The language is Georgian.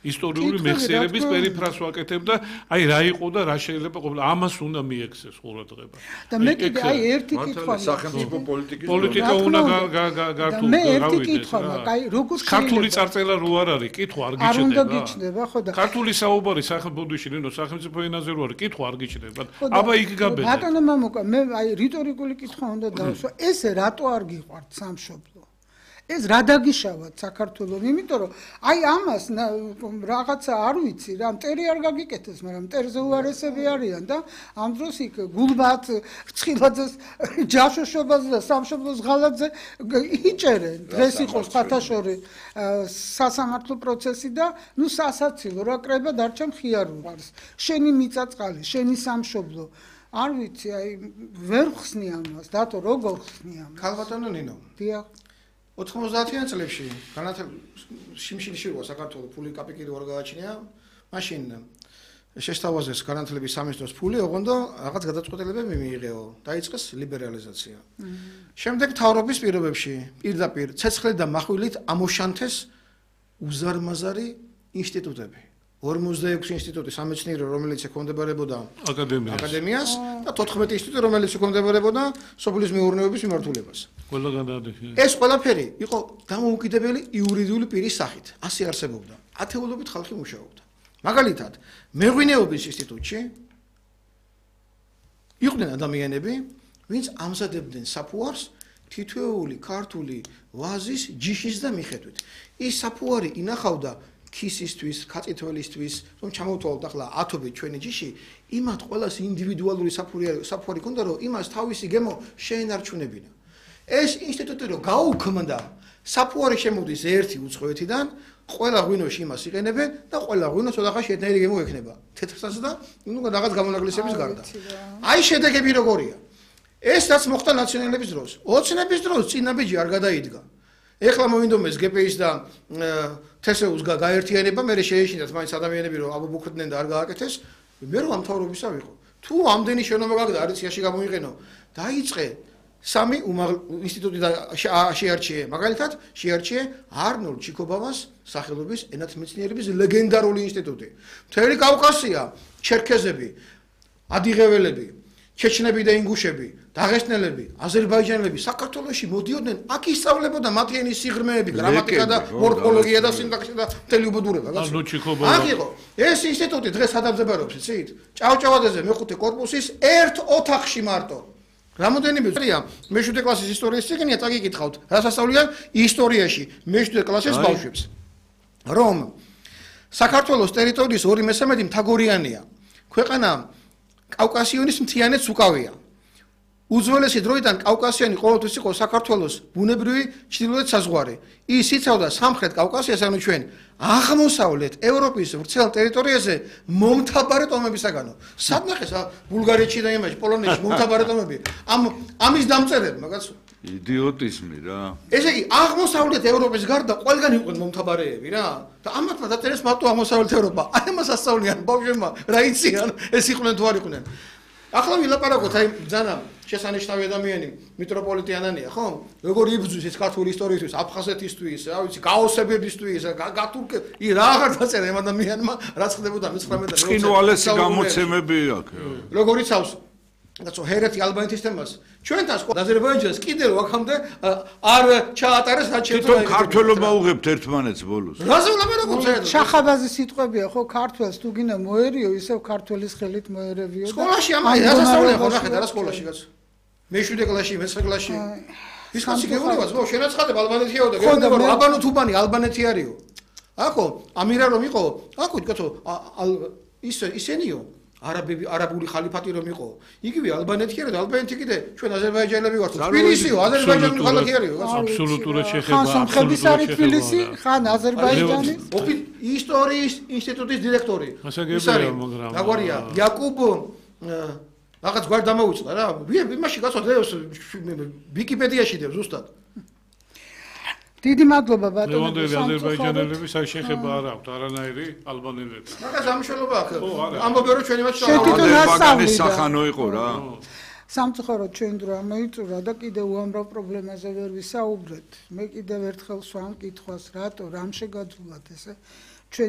ისტორიული მეხსიერების პერიფრას ვაკეთებ და აი რა იყო და რა შეიძლება ყოფილა ამას უნდა მიექცეს ყურადღება. და მე კიდე აი ერთი კითხვა სახელმწიფო პოლიტიკა უნდა გართულ მე ერთი კითხვა მაქვს, აი როგორ ქართული წარწერა რო არ არის, კითხვა არ არ უნდა გიჩნდება. გიჩნდება, ხო და ქართული საუბარი სახელმწიფოში ნინო სახელმწიფო ენაზე რო არის, კითხვა არ გიჩნდება. აბა იქ გაბედე. ბატონო მამუკა, მე აი რიტორიკული კითხვა უნდა დავსვა, ესე რატო არ გიყვართ სამშობლო? ეს რა დაგიშავათ საქართველოს, იმიტომ რომ აი ამას რაღაცა არ ვიცი რა, მტერი არ გაგიკეთეს, მაგრამ მტერზე უარესები არიან და ამ დროს იქ გულბათ, რცხილაძეს, ჯაშოშობაზე და სამშობლოს ღალატზე იჭერენ. დღეს იყო ხათაშორი სასამართლო პროცესი და ნუ სასაცილო რა კრება დარჩა მხიარულს. შენი მიწაწყალი, შენი სამშობლო. არ ვიცი, აი ვერ ხსნი ამას, დათო როგორ ხსნი ამას? ქალბატონო ნინო. დიახ. 90-იან წლებში შიმშილში იყო საქართველოს ფული კაპიკი რო არ გააჩნია, მაშინ შესთავაზეს განათლების სამინისტროს ფული, ოღონდ რაღაც გადაწყვეტილებები მიიღეო, დაიწყეს ლიბერალიზაცია. შემდეგ მთავრობის პირობებში პირდაპირ ცეცხლით და מחვილით ამოშანთეს უზარმაზარი ინსტიტუტები. 46 ინსტიტუტი სამეცნიერო, რომელიც ექვემდებარებოდა აკადემიას და 14 ინსტიტუტი, რომელიც ექვემდებარებოდა სოფლის მეურნეობის მიმართულებას. ეს ყველაფერი იყო დამოუკიდებელი იურიდიული პირის სახით. ასე არსებობდა. ათეულობით ხალხი მუშაობდა. მაგალითად, მეღვინეობის ინსტიტუტში იყვნენ ადამიანები, ვინც ამზადებდნენ საფუარს თითოეული ქართული ვაზის ჯიშის და მიხედვით. ის საფუარი ინახავდა ქისისთვის, კაწითველისთვის, რომ ჩამოვთვალოთ ახლა 10-ობით ჩვენი ჯიში, იმათ ყველას ინდივიდუალური საფუარი ქონდა, რომ იმას თავისი გემო შეენარჩუნებინა. ეს ინსტიტუტი რო გაუქმდა, საფუარი შემოდის ერთი უცხოეთიდან, ყველა ღვინოში იმას იყენებენ და ყველა ღვინოს ოთახაში ერთნაირი გემო ექნება. თეთრსაც და ნუ რაღაც გამონაკლისების გარდა. აი შედეგები როგორია. ეს რაც მოხდა ნაციონალების დროს. ოცნების დროს წინაბიჯი არ გადაიდგა. ეხლა მოვინდომეს გპ-ის და თესეუს გაერთიანება, მე შეეშინათ მაინც ადამიანები რომ აბუბუქდნენ და არ გააკეთეს, მე რომ ამ მთავრობისა ვიყო. თუ ამდენი შენობა გაგდა არიციაში გამოიყენო, დაიწყე სამი ინსტიტუტი შეარჩიე, მაგალითად, შეარჩიე არნოლდ ჩიკობავას სახელობის ენათმეცნიერების ლეგენდარული ინსტიტუტი. მთელი კავკასია, ჩერქეზები, ადიღეველები, ჩეჩნები და ინგუშები, დაღესტნელები, აზერბაიჯანელები საქართველოში მოდიოდნენ, აქ ისწავლებოდა მათი ენის სიღრმეები, გრამატიკა და მორფოლოგია და სინტაქსი და მთელი უბედურება. აქ იყო. ეს ინსტიტუტი დღეს ადაბზებარობს, იცით? ჭავჭავაძეზე მეხუთე კორპუსის ერთ ოთახში მარტო. რამოდენიმე წელია მე-7 კლასის ისტორიის წიგნია, წაგიკითხავთ, რას ასწავლიან ისტორიაში მე-7 კლასის ბავშვებს. რომ საქართველოს ტერიტორიის 2/3 მთაგორიანია. ქვეყანა კავკასიონის მთიანეთს უკავია. უძველესი დროიდან კავკასიონი ყოველთვის იყო საქართველოს ბუნებრივი ჩრდილოეთ საზღვარი. ის იცავდა სამხრეთ კავკასიას, ანუ ჩვენ აღმოსავლეთ ევროპის ვრცელ ტერიტორიაზე მომთაბარე ტომებისაგანო. სადნახეს ბულგარეთში და იმაში, პოლონეთში მომთაბარე ტომები. ამის დამწერებმა კაცო. იდიოტიზმი რა. ესე იგი, აღმოსავლეთ ევროპის გარდა ყველგან იყვნენ მომთაბარეები რა. და ამათმა დაწერეს მარტო აღმოსავლეთ ევროპა. აი ამას ასწავლიან ბავშვებმა, რა იციან, ეს იყვნენ თუ არ იყვნენ. ახლა ვილაპარაკოთ აი ძანა შესანიშნავი ადამიანი მიტროპოლიტი ანანია, ხო? როგორ იბრძვის ეს ქართული ისტორიისთვის, აფხაზეთისთვის, რა ვიცი, გაოსებებისთვის, გათურკე, რა აღარ დაწერა ამ ადამიანმა, რაც ხდებოდა 19 წინვალეს გამოცემები აქვს. როგორ იცავს? კაცო, ჰერეთი ალბანეთის თემას. ჩვენთან აზერბაიჯანს კიდე რო აქამდე არ ჩაატარეს რაც შეძლო. თვითონ ქართველობა უღებთ ერთმანეთს ბოლოს. რაზე ვლაპარაკობთ? შახაბაზის სიტყვებია, ხო, ქართველს თუ გინდა მოერიო, ისევ ქართველის ხელით მოერევიო. სკოლაში ამას ასწავლიან, ხო, ნახეთ, არა სკოლაში კაცო. მე-7 კლასში, მე-9 კლასში. ის კაცი გეუბნებას, ხო, შენაცხადებ ალბანეთიაო და გეუბნება რომ აბანო თუბანი ალბანეთი არისო. აქო, ამირა რომ იყო, აქო კაცო, ისენიო არაბული ხალიფატი რომ იყო. იგივე ალბანეთი არა და ალბანეთი კიდე ჩვენ აზერბაიჯანელები ვართ. თბილისიო, აზერბაიჯანული ხალხი არისო, კაცო. აბსოლუტურად შეხება. ხან სომხების არის თბილისი, ხან აზერბაიჯანი. ისტორიის ინსტიტუტის დირექტორი. ის არის, მაგრამ აგვარია, იაკუბ რაღაც გვარ დამოუწყდა რა. იმაში კაცო, ვიკიპედიაში დევ ზუსტად. დიდი მადლობა ბატონო. ლევანდელი აზერბაიჯანელები შეხება არ აქვთ არანაირი ალბანელებთან. მაგას ამშელობა აქვს. ამბობენ რომ ჩვენი მათ ბაგანის სახანო იყო რა. სამწუხაროდ ჩვენ დრო ამოიწურა და კიდე უამრავ პრობლემაზე ვერ ვისაუბრეთ. მე კიდევ ერთხელ სვამ კითხვას, რატო რამ შეგაძულად ესე